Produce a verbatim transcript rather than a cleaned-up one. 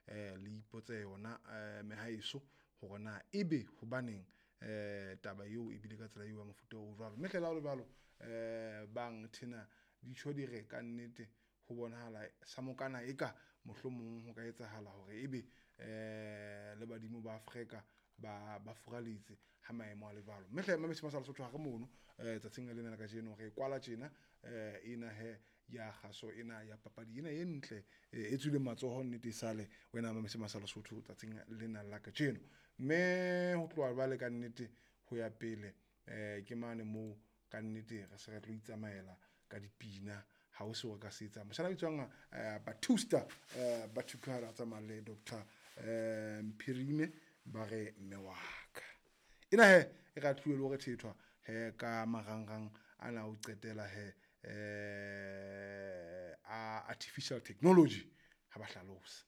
eh le ipotse yona eh mehaeso hore na ebe hobaneng eh taba eo e bile ka tsela eo ya mofuta o jwalo. Mme hle le ha hole jwalo eh bang thena ditjho di re ka nnete ho bonahala sa mokana eka mohlomong ho ka etsahala hore ebe eh le badimo ba Afrika ba ba furaletse ha maemo a le jwalo. Mme hle mametse masala Sotho ha re mono eh tsatsing lena la kajeno re kwala tjena eh ena he ya kgaso ena ya papadi ena e ntle e tswileng matsoho nnete sale wena mametse masala Sotho tsatsing lena la kajeno. Mme ho tloha jwale ka nnete ho ya pele eh ke mane moo ka nnete re se re tlo itsamaela ka dipina ha ho seo re ka se etsang. Moshana a bitswang eh Batusta eh Batukara tsamaya le Doctor eh Mphirime ba re mme wa ka. Ena he e ra tluwe le hore thethwa he ka marangrang ana o qetela he eh a artificial technology ha ba hlalosa.